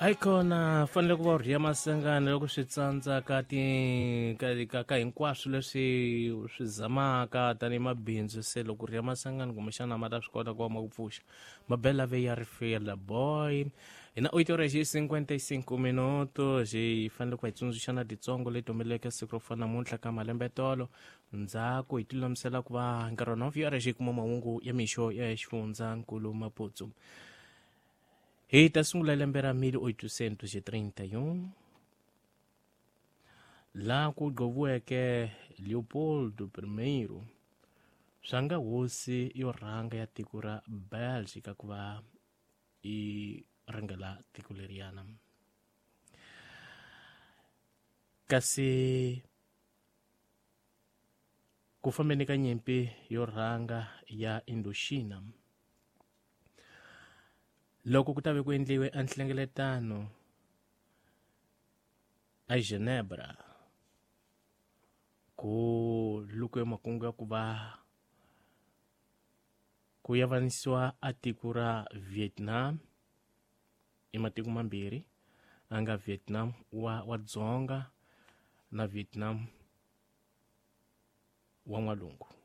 Ayikhona fanele ku va u rhiya masengana loko swi tsandza ka ti ka ka, ka hinkwaswo leswi u swi zamaka tanihi mabindzu. Se loko u rhiya masengana kumbexana ma ta swi kota ku va ma ku pfuxa. Mabela ve ya ri fela boy hi na 8 horas e 55 minutos. Hi fanele ku va hi tsundzuxa na titsongo leti humeleleke siku ro fana namuntlha ka malembe tolo ndzhaku hi tilulamisela ku va nkarhi wa 9 horas hi kuma mahungu ya mixo ya xifundza nkulu Maputsu. Hi ta sungula lembe ra 1831 laha ku gqoviweke Leopoldo I swa nga hosi yo rhanga ya tiko ra Belgica ku va yi rhangela tiko leriyana. Kasi ku fambeni ka nyimpi yo rhanga ya Indochina, loko ku ta ve ku endliwe a nhlengeletano a Genebra, ku lukiwe makungu ya ku va ku yavanisiwa a tiko ra Vietnam i matiko mambirhi, a nga Vietnam wa dzonga na Vietnam wa n'walungu.